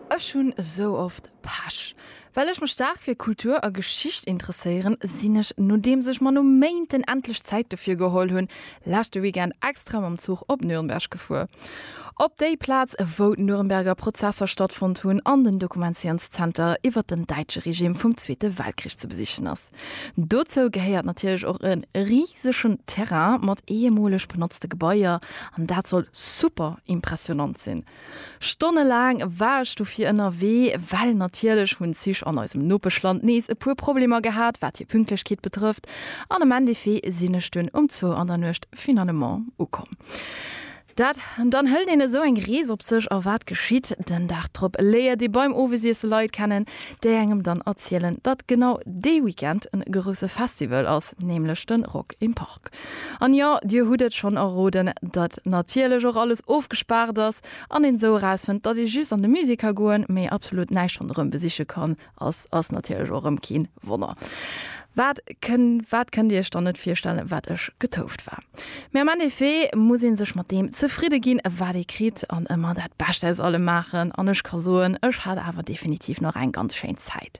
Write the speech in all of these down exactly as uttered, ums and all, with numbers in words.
Ech hunn esou oft Pech. Well ech mech staark fir Kultur a Geschicht interesséieren, sinn ech, nodeems ech mer no Méinten endlech Zäit dofir geholl hunn, leschte Weekend extra mam Zuch op Nürnberg gefuer. Op déi Plaz, wou d'Nürnberger Prozesser stattfonnt hunn an den Dokumentationszenter iwwer den däitsche Regime vum Zweete Weltkrich ze besichen ass. Dozou gehéiert natierlech och e risegen Terrain mat ehemoleg benotzte Gebaier an dat soll super impressionant sinn. Stonnelaang war ech dofir ënnerwee, well natierlech hunn d'Zich an eisem Nopeschland nees e puer Problemer gehat, wat hir Pünktlechkeet betrëfft, an am Endeffet sinn ech dunn um zwou an der Nuecht finalement ukomm. Dat, dann hëlt een esou eng Rees op sech a wat geschitt? Den Dag drop léiert ee beim Owesiesse Leit kennen, déi engem dann erzielen, datt genau dee Weekend en grousse Festival ass, nämlech de Rock im Park. An jo, dir hutt et schonn erroden, datt natierlech och alles ofgespaart ass an een esou erausfënnt, datt ee just an de Musée ka goen, mee absolut näischt ronderëm besiche kann, ass ass natierlech och erëm keen Wonner. Wat kënn, wat kënnt Dir Iech dann net virstellen, wat ech getouft war. Mee am Endeffet muss ee sech mat deem zefridde ginn, wat ee kritt an ëmmer dat Bescht aus allem maachen. An ech ka soen, ech hat awer definitiv nach eng ganz schéin Zäit.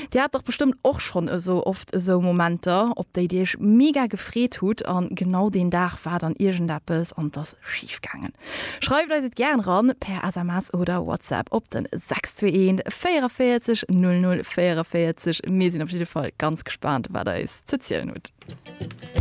Dir hat dach bestëmmt och schonn esou oft esou Momenter, op déi Dir Iech mega gefreet hutt an genau deen Dag war dann iergendeppes an 't ass schif gaangen. Schreift eis et gären eran per S M S oder WhatsApp op den sechs zwee eent véierevierzeg null null véierevierzeg. Mir sinn op jidde Fall ganz gespaant, wat der eis ze zielen hutt.